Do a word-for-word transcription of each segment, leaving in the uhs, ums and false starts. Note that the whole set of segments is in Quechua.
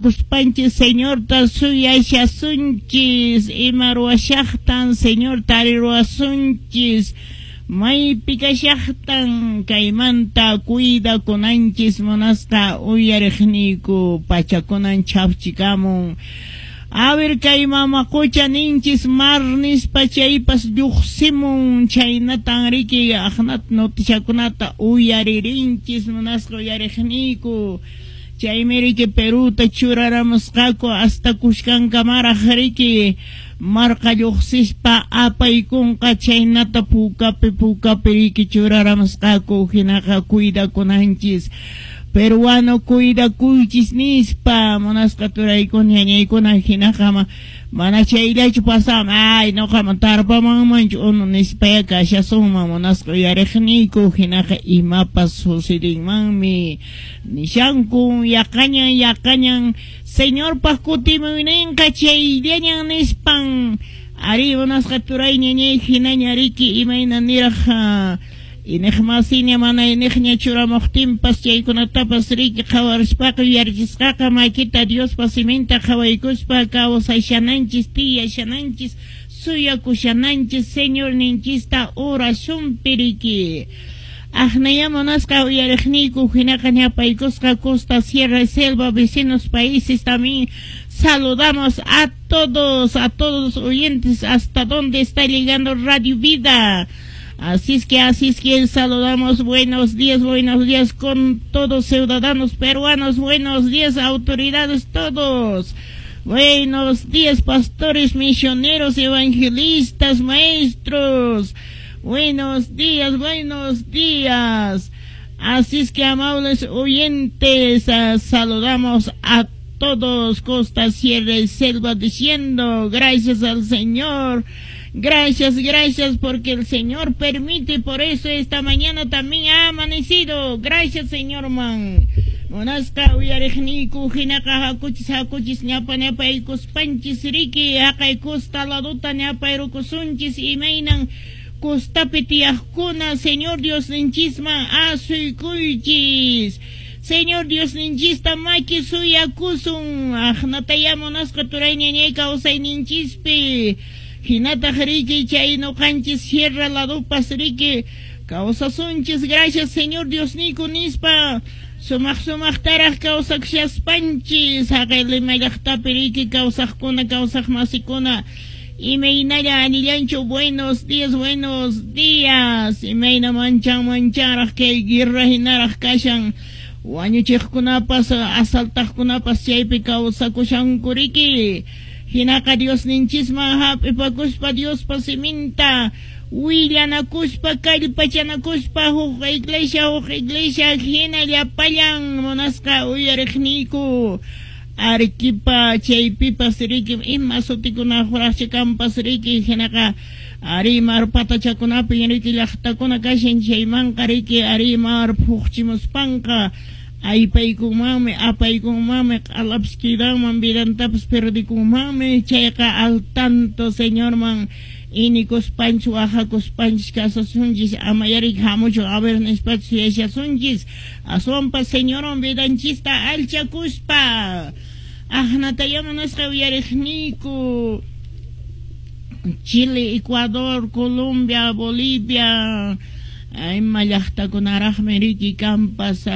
Kuspanchis Señorta suyashasunchis, ima ruwashaqtan Señor tariruwasunchis, maypi kashaqtan kaymanta cuidakunanchis munasqa uyariqniyku pachakunan chhafchikamun. A ver kay mama qucha ninchis mar nispa chaypas lluqsimun, chhaynatan riki aqnata noticiakunata uyaririnchis munasqa uyariqniyku. Chaymi riki Peruta churaramusqaku hasta kushkankamaraq riki marqa lluqsispa apaykunqa chaynata pukapi pukapi riki churaramusqaku hinaqa cuidakunanchis. Peruano cuidakuychis nispa munasqa turaykuna ñañaykuna hinaqa mana chayllachu pasaman ay nuqaman tarpamanmanchu unu nispaya kashasunman munasqa uyariqniyku hinaqa imapas sucedinmanmi nishankun yaqañan yaqañan Señorpaq kutimuyninqa chayllañan nispan ari munasqa turay ñañay hinaña riki imayna niraq Iniqmasiña mana iniqña churamuqtinpas chaykunatapas riki qhawarispaqa yuyarichisqaqa makita Diospa siminta qhawaykuspa kawsashananchis tiyashananchis suyakushananchis Señorninchista oracionpi riki. Aqnaya munasqa uyariqniyku hinaqa ñapaykusqa costa, sierra y selva, vecinos países también saludamos a todos, a todos los oyentes hasta donde está llegando Radio Vida. Así es que, así es que saludamos, buenos días, buenos días con todos ciudadanos peruanos, buenos días autoridades todos, buenos días pastores, misioneros, evangelistas, maestros, buenos días, buenos días. Así es que amables oyentes, uh, saludamos a todos, costa, sierra y selva, diciendo gracias al Señor. Gracias, gracias, porque el Señor permite, por eso esta mañana también ha amanecido. Gracias, Señor man. Munasqa uyariqniyku hinaqa hakuchis hakuchis ñapa ñapaykuspanchis riki haqay costa laduta ñapayrukusunchis imaynan costapi tiyaqkuna Señor Diosninchisman asuykuychis. Señor Diosninchista maki suyakusun aqnataya munasqa turay ñañay kawsayninchispi. Hinataq riki chay nuqanchis sierra ladupas riki kawsasunchis gracias Señor Diosniyku nispa sumaq sumaqtaraq kawsakshaspanchis haqay Lima llaqtapi riki kawsaqkuna kawsaqmasikuna imaynalla anillanchu buenos días buenos días imayna manchan manchanraq kay guerra hinaraq kashan wañuchiqkunapas asaltaqkunapas chaypi kawsakushanku riki. Hinaqa Diosninchisman hap'ipakuspa Diospa siminta willanakuspa kallpachanakuspa huk iglesia huk iglesia hina llapallan munasqa uyariqniyku Arequipa chaypipas riki ima sutikuna huraqchikanpas riki hinaqa ari mar patachakunapi riki llaqtakuna kashan chaymanqa riki ari mar phuqchimuspanqa aypaykunmanmi apaykunmanmi q'alapis kidanman vidantapas perdikunmanmi chayqa al tanto Señorman inikuspanchis wahakuspanchis kasasunchis ama yarik hamuchun a ver nispachu suyashasunchis aswanpas Señorwan vidanchista alchakuspa aqnataya munasqa uyariqniyku Chile, Ecuador, Colombia, Bolivia ima llaqtakunaraqmi riki kanpas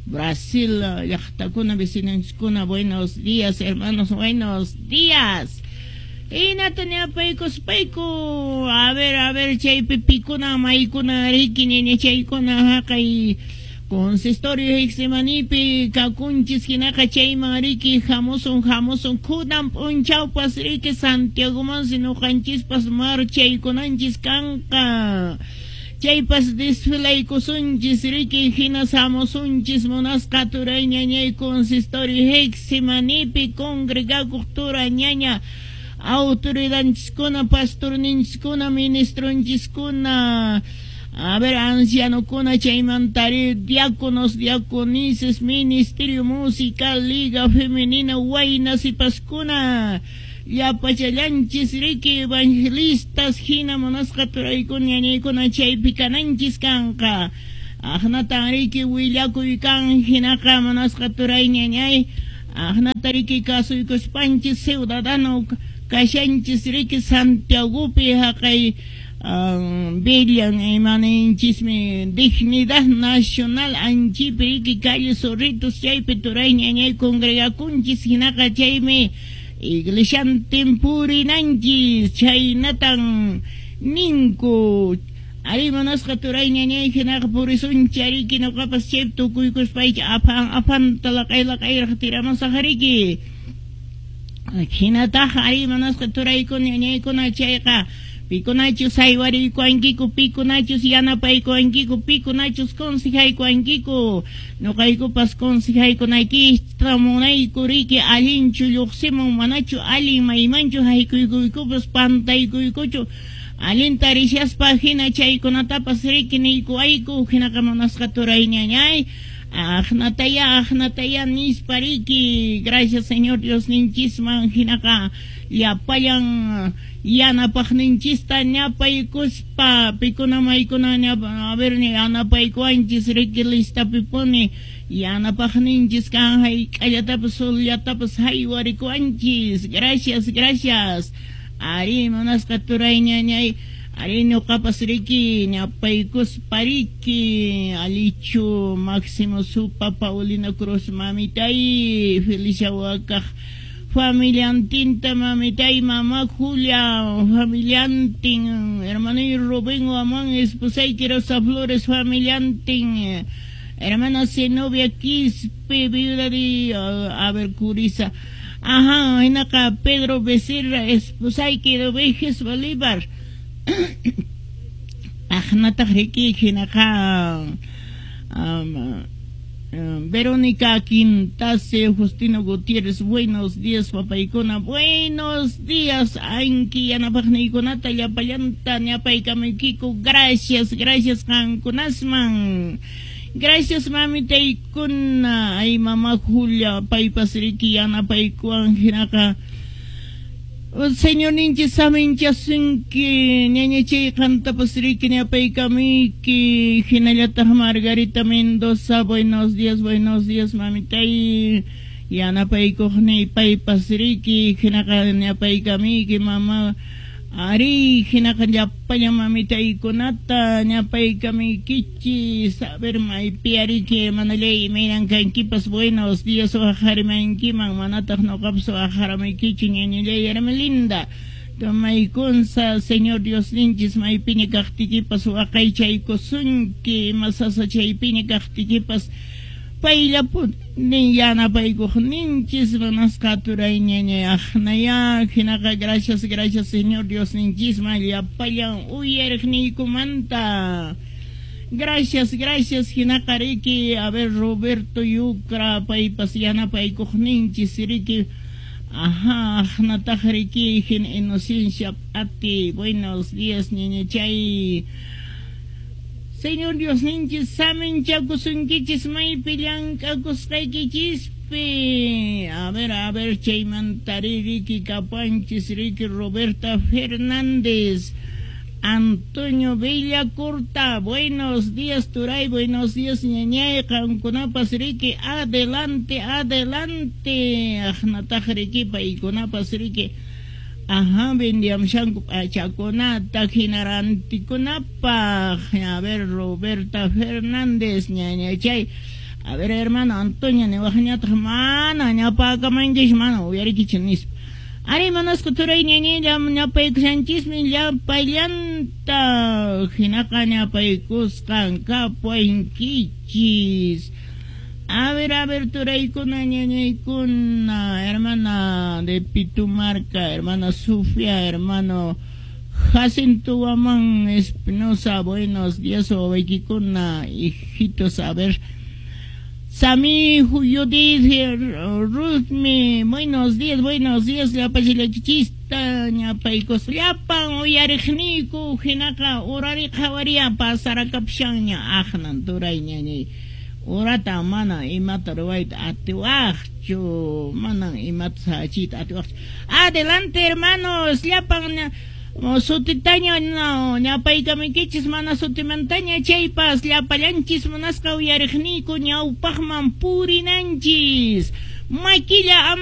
Brasil llaqtakuna vecinonchiskuna buenos días hermanos buenos días hinata ñapaykuspayku a ver a ver chaypi pikuna maykuna riki ñañachaykuna haqay consistorio Getsemanípi kakunchis hinaqa chayman riki hamusun hamusun kunan p'unchawpas riki Santiagomansi nuqanchispas marchaykunanchis kanqa chaypas desfilaykusunchis riki hina hamusunchis munasqa turay ñañay consistorio Getsemanípi congregakuq tura ñaña autoridadchiskuna pastorninchiskuna ministronchiskuna a ver ancianokuna chaymantari diáconos diaconises ministerio musical liga femenina wayna sipaskuna llapachallanchis riki evangelistas hina munasqa turaykuna ñañaykuna chaypi kananchis kanqa aqnatan riki willakuy kan hinaqa munasqa turay ñañay Aqnata riki kasuykuspanchis ciudadano kashanchis riki Santiagopi haqay Villan imaninchishmi Dignidad Nacional anchipi riki calle Zorritos chaypi turay ñañay congregakunchis hinaqa chaymi iglesiantin purinanchis chaynatan ninku ari munasqa turay ñañay hinaqa purisunchik riki ñuqapas chaypi tukuykuspayki apan apanta laq'ay laq'ayraq tiramusaq riki hinataqa ari munasqa turaykuna ñañaykuna chayqa pikunachus haywariykuwankiku pikunachus yanapaykuwankiku pikunachus consejaykuwankiku ñuqaykupas consejaykunaykista munayku riki allinchu lluqsimun manachu allin maymanchu haykuykuykupas pantaykuykuchu allinta rishaspa hina chaykunatapas riki niykuwayku hinaqa munasqa turay ñañay aqnataya aqnataya nispa riki gracias Señor Dios ninchisman hinaqa llapallan yanapaqninchista ñapaykuspa pikuna maykuna a ver yanapaykuwanchis riki listapipuni yanapaqninchis kan hayk'allatapas sullatapas haywarikuwanchis gracias gracias ari munasqa turay ñañay ari ñuqapas riki ñapaykuspa riki Alichu Máximo Supa Paulina Cruz mamitay Felicia Wakaq familiantinta mamitay mamá Julia familiantin hermanay Rubén Guamán esposayki Rosa Flores familiantin hermana Zenobia Quispe viuda de a ver Curiza ajá hinaqa Pedro Becerra esposayki Dovejes Bolívar aqnataq riki hinaqa um, Verónica Quintase, Justino Gutiérrez, buenos días, papaykuna, buenos días, anki yanapaqniykunata llapallanta ñapaykamuykiku, gracias, gracias qankunasman, gracias mamitaykuna, ay mamá Julia, paypas riki yanapaykuwan hinaqa Señor ninchis saminchasunki ñañachay qantapas riki ñapaykamuyki hinallataq Margarita Mendoza, buenos días, buenos días mamitay yanapaykuqniy paypas riki hinaqa ñapaykamuyki mama ari hinaqa llapallan mamitaykunata ñapaykamuykichis a ver maypi ariki hermanallay imaynan kankipas buenos días waqharimankiman manataq ñuqapas waqharamuykichu ñañallay Hermelinda tomaykunsa Señor Dios ninchis maypiña kaqtiykipas waqaychaykusunki ima sasachaypiña kaqtiykipas payllapuni yanapaykuqninchis munasqa turay ñañay aqnaya hinaqa gracias gracias Señor Dios ninchisman llapallan uyariqniykumanta gracias gracias hinaqa riki a ver Roberto Yucra paypas yanapaykuqninchis riki ajá aqnataq riki hin Inocencia Pati buenos días ñañachay Señor Dios ninchis saminchakusunkichis maypi llank'akusqaykichispi a ver a ver chaymantari riki kapanchis riki Roberta Fernández Antonio Villacurta, buenos días turay, buenos días ñañay qankunapas riki adelante adelante aqnataq riki paykunapas riki ajá vendiamshanku p'achakunata hinarantikunapaq a ver Roberta Fernández ñañachay a ver hermano Antonio niwaqñataq mana ñapakamankish mana uyarikichik nispa ari munasqa turay ñañay ñapaykushanchismi llapallanta hinaqa ñapaykusqan kapuwankichis a ver, a ver, turaykuna, ñañaykuna, hermana de Pitumarca, hermana Sofía, hermano Jacinto Guamán Espinosa, buenos días, wawaykikuna, hijitos, a ver, Sami Judith, Ruthmi, buenos días, buenos días, llapachilachista, ñapaykos, llapan uyariqniyku, hinaqa urari qhawaria pasarakapushanña, aqnan turay ñañay. Urata mana imata ruwayta atiwaqchu, manan imata sachita atiwaqchu. Adelante hermanos, llapan sutitaña no ñapaykamuykichis mana sutimantaña chaypas llapallanchis munasqa uyariqniyku ñawpaqman purinanchis. Makilla ama